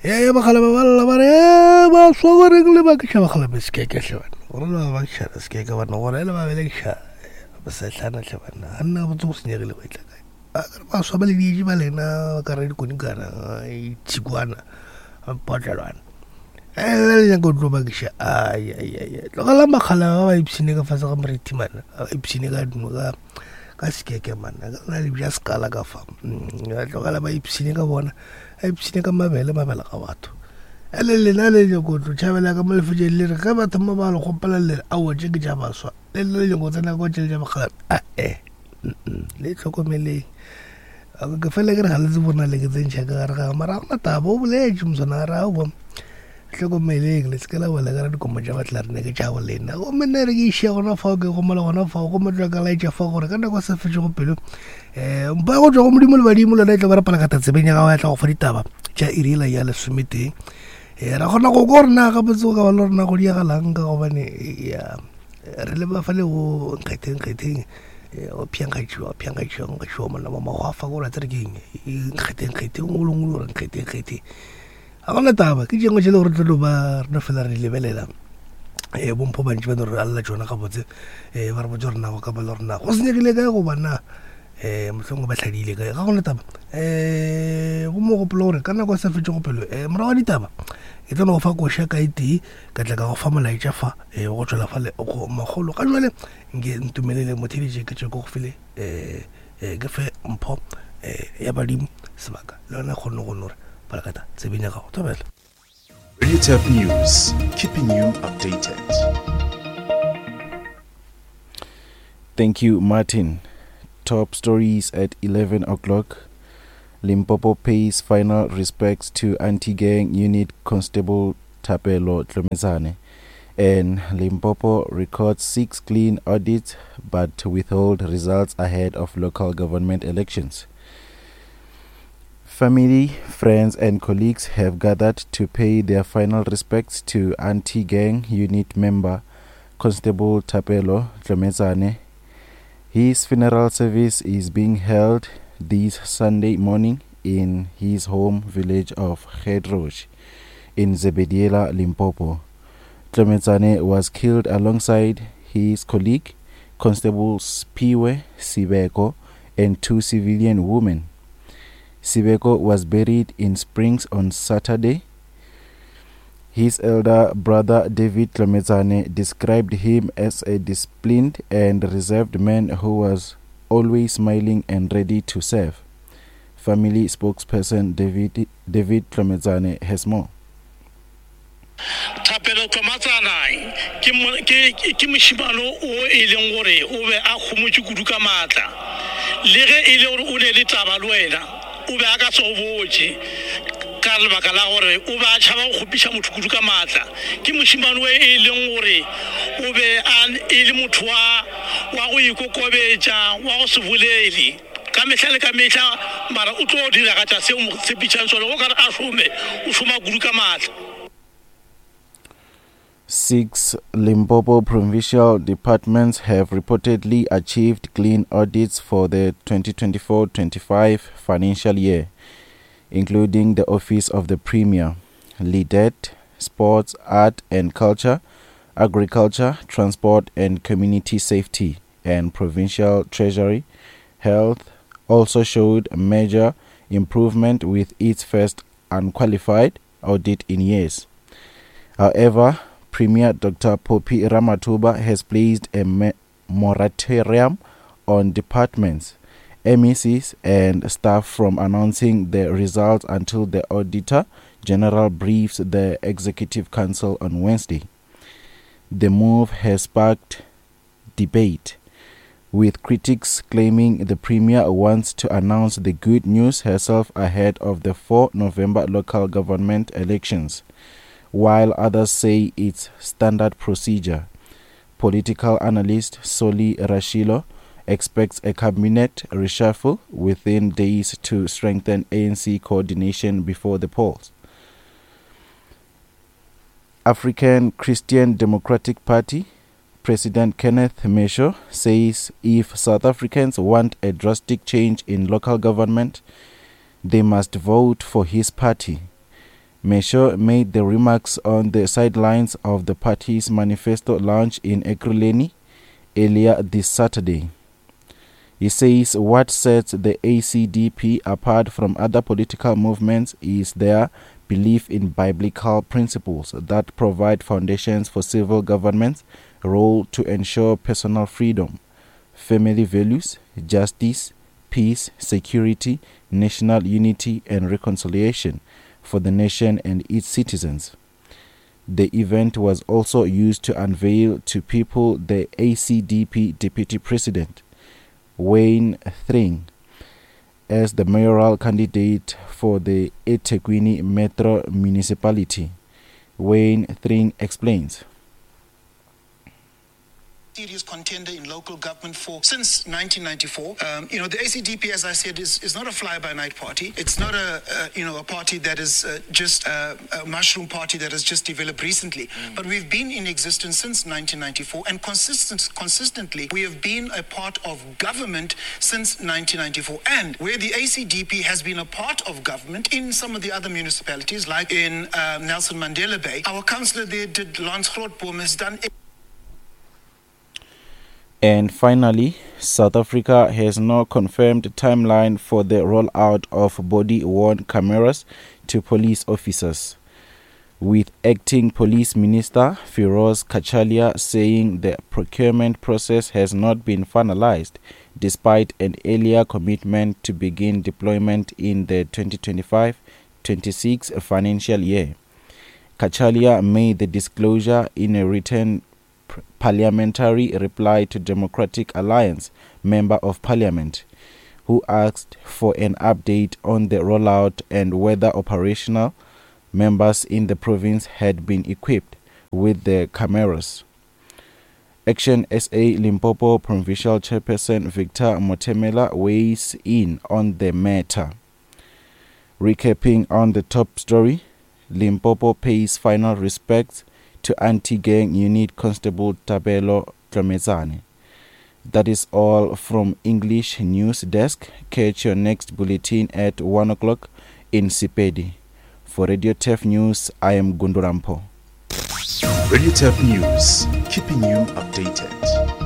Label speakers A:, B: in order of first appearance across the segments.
A: Ee, bakgalabje ba lla ba re, Ee, baswa goreng le bakiša bakgalabje sekeke hle banna, gore le ba bakišana sekeke banna, gore le ba belekiša bosehlana hle banna, ga nna botse go senyegile go etla kae. Ba ka re baswa ba le dietše ba lena ba ka re dikonikana, ditšhikwana, potlelwana. Ee, le le nyaka go tlo bakiša, ai, ai, ai, tlogelang bakgalabje ba ba ipshine ka fase ga moriti mana, ba ipshine ka ka ka sekeke mana, ka lena le bja sekala ka fa, tlogela ba ipshine ka bona. A ipshine ka mabele mabele ga batho ele lena le nyako tlo tšhabela ka mo lefetšeng le re ge batho mo ba le gopela le re aowa tše ke tša baswa le le nyako tsena ko tšele tša bakgalabje ae le tlhokomeleng ke fele ke re ga le tsebo na le ke tsentšha ka gare ga mara gona taba o boletše moswana gare ga bo hlokomeleng le seke la wela ka dikomo tša batla rene ke tša go lena gomme nna re ke iše gona fao ke gomola gona fao gomme tla ka laetša fa gore ka nako sa fetšego pelo um mpa go tšwa go modimo le badimo lona e tla ba re palakata tsebeng ya gago ya tla go fa ditaba tša iriela ya lesometee um ra kgona go ko rena gabotse go ka ba le rena go diagalang ka gobane ya re le ba fa le go nkgetheng kgetheng o phenkgatšiwa phenkgatšiwa nkgatšiwa monna wa magwafa ko ra tsere ke eng nkgetheng kgetheng o longwe le gore nkgetheng kgetheng Ga gona taba, ke tšengwe tše le gore tlo no ba re no fela re di lebelela. Um bompho bantši ba no re alela tšona gabotse um ba re botse gore na go ka ba le gore na go senyegile kae goba na um mohlomongwe ba hladile kae. Ga gona taba um go mogopolo gore ka nako e sa fetšego pelo um morago ga ditaba ke tlo no go fa koša ka e tee ka tla ka go fa molaetša fa um go tšwela fale go makgolo. Ga jwale nke ntumelele motheeletši ke tšwe ke go fele um ke fe mpho um ya badimo sebaka le yona kgone go no re palakata tsebeng ya gago thobela.
B: Radio Turf News, keeping you updated.
C: Thank you, Martin. Top stories at 11 o'clock. Limpopo pays final respects to anti-gang unit Constable Thapelo Tlomezane. And Limpopo records 6 clean audits but withhold results ahead of local government elections. Family, friends and colleagues have gathered to pay their final respects to anti-gang unit member Constable Thapelo Tlomezane. His funeral service is being held this Sunday morning in his home village of Gedrosh in Zebediela, Limpopo. Tlometsane was killed alongside his colleague, Constable Spiwe Sibeko, and 2 civilian women. Sibeko was buried in Springs on Saturday. His elder brother, David Tlometsane, described him as a disciplined and reserved man who was always smiling and ready to serve. Family spokesperson David Tlometsane has more.
D: Thapelo Tlomatsana ke, ke, ke mošemane o e leng gore o be a homotše kudu ka maatla. Le ge e le gore o ne le taba le wena, o be a ka se go botše ka lebaka la gore o be a tšhaba go kgopiša motho kudu ka maatla. Ke mošemane o e leng gore o be a e le motho wa, wa go ikokobetša, wa go se bolele ka mehla le ka mehla, mara o tlo diragatša se o mo tshepišang sona. Go ka re a šome, o šoma kudu ka maatla.
C: 6 Limpopo provincial departments have reportedly achieved clean audits for the 2024-25 financial year, including the Office of the Premier, LEDET, Sports, Art and Culture, Agriculture, Transport and Community Safety, and Provincial Treasury. Health also showed major improvement with its first unqualified audit in years. However, Premier Dr. Phophi Ramathuba has placed a moratorium on departments, MECs and staff from announcing the results until the Auditor General briefs the Executive Council on Wednesday. The move has sparked debate, with critics claiming the Premier wants to announce the good news herself ahead of the 4 November local government elections, while others say it's standard procedure. Political analyst Solly Rashilo expects a cabinet reshuffle within days to strengthen ANC coordination before the polls. African Christian Democratic Party President Kenneth Mesho says if South Africans want a drastic change in local government, they must vote for his party. Mesho made the remarks on the sidelines of the party's manifesto launch in Ekurhuleni earlier this Saturday. He says what sets the ACDP apart from other political movements is their belief in biblical principles that provide foundations for civil government's role to ensure personal freedom, family values, justice, peace, security, national unity, and reconciliation for the nation and its citizens. The event was also used to unveil to people the ACDP Deputy President, Wayne Thring, as the mayoral candidate for the eThekwini Metro Municipality. Wayne Thring explains
E: serious contender in local government for since 1994. Um, you know, the ACDP, as I said, is, is not a fly-by-night party. It's not a, a you know a party that is uh, just a, a, mushroom party that has just developed recently. Mm. But we've been in existence since 1994, and consistent, consistently we have been a part of government since 1994. And where the ACDP has been a part of government in some of the other municipalities, like in uh, Nelson Mandela Bay, our councillor there did Lance Grootboom has done.
C: And finally, South Africa has no confirmed timeline for the rollout of body worn cameras to police officers. With acting police minister Firoz Cachalia saying the procurement process has not been finalized despite an earlier commitment to begin deployment in the 2025 26 financial year. Cachalia made the disclosure in a written parliamentary reply to Democratic Alliance Member of Parliament, who asked for an update on the rollout and whether operational members in the province had been equipped with the cameras. Action SA Limpopo Provincial Chairperson Victor Motemela weighs in on the matter. Recapping on the top story, Limpopo pays final respects to anti-gang unit Constable Tabelo Tlamezane. That is all from English News Desk. Catch your next bulletin at 1 o'clock in Sepedi. For Radio Turf News, I am Gundurampo.
B: Radio Turf News, keeping you updated.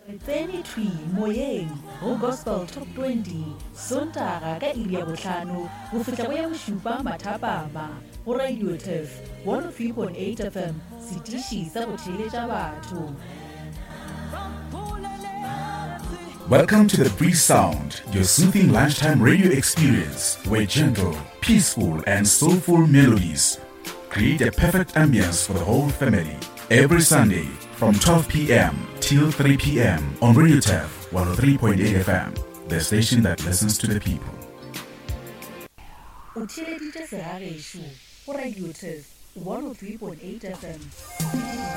F: Re tsene thwi moyeng go Gospel Top 20 Sontaga ka iri ya bohlano go fihla go ya bošupa mathapama go Radio Turf 103.8 FM, setiši sa go theeletša batho.
B: Welcome to the Breeze Sound, your soothing lunchtime radio experience where gentle, peaceful, and soulful melodies create a perfect ambience for the whole family. Every Sunday from 12 p.m. till 3 p.m. on Radio Turf 103.8 FM, the station that listens to the people.
F: O theeleditše segagešo go Radio Turf 103.8 FM.